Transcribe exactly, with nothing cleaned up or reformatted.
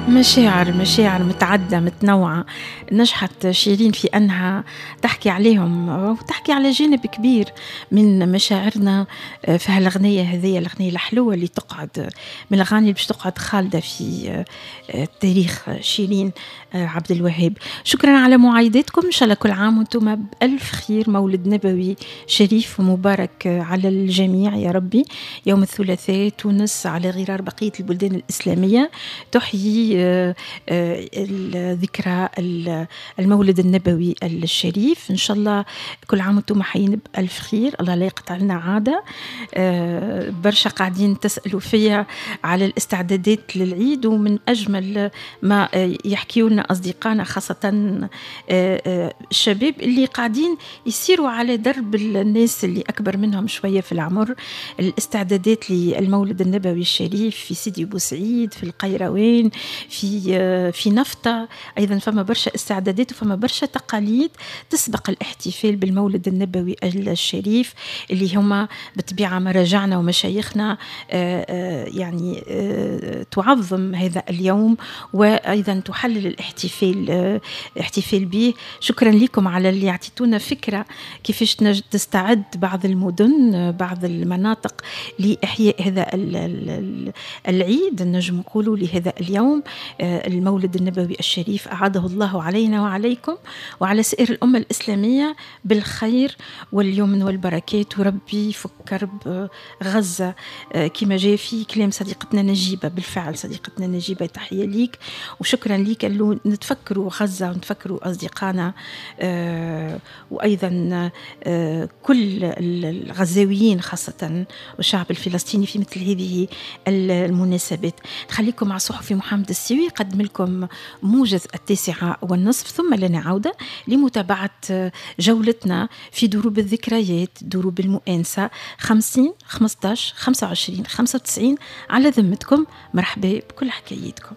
مشاعر مشاعر متعددة متنوعة نجحت شيرين في أنها تحكي عليهم وتحكي على جانب كبير من مشاعرنا في هالأغنية هذه، الأغنية الحلوة اللي تقعد من الأغاني اللي باش تقعد خالدة في تاريخ شيرين عبد الوهاب. شكرا على معايداتكم، إن شاء الله كل عام وأنتم بألف خير، مولد نبوي شريف ومبارك على الجميع يا ربي. يوم الثلاثاء تونس على غرار بقية البلدان الإسلامية تحيي ذكرى المولد النبوي الشريف. إن شاء الله كل عام وأنتم حيين بألف خير، الله لا يقطع لنا عادة. برشا قاعدين تسألوا فيا على الاستعدادات للعيد، ومن أجمل ما يحكيوا لنا أصدقائنا خاصة الشباب اللي قاعدين يسيروا على درب الناس اللي أكبر منهم شوية في العمر، الاستعدادات للمولد النبوي الشريف في سيدي بوسعيد، في القيروان، في في نفطة. أيضا فما برشا استعدادات وفما برشا تقاليد تسبق الاحتفال بالمولد النبوي الشريف اللي هما بطبيعة مراجعنا ومشايخنا يعني تعظم هذا اليوم وأيضا تحلل الاحتفال احتفال به. شكرا لكم على اللي اعطيتونا فكرة كيفاش تستعد بعض المدن بعض المناطق لإحياء هذا العيد، نجم نقولوا لهذا اليوم المولد النبوي الشريف، أعاده الله علينا وعليكم وعلى سائر الأمة الإسلامية بالخير واليمن والبركات، وربي يفك كرب غزة كما جاء في كلام صديقتنا نجيبة. بالفعل صديقتنا نجيبة تحية ليك وشكرا ليك اللي نتفكروا غزة ونتفكروا أصدقائنا وأيضا كل الغزاويين خاصة والشعب الفلسطيني في مثل هذه المناسبات. نخليكم مع صحفي محمد السيوي قدم لكم موجز التاسعة والنصف، ثم لنا عودة لمتابعة جولتنا في دروب الذكريات، دروب المؤانسة. خمسين خمسطاش خمسة وعشرين خمسة وتسعين على ذمتكم. مرحبا بكل حكايتكم.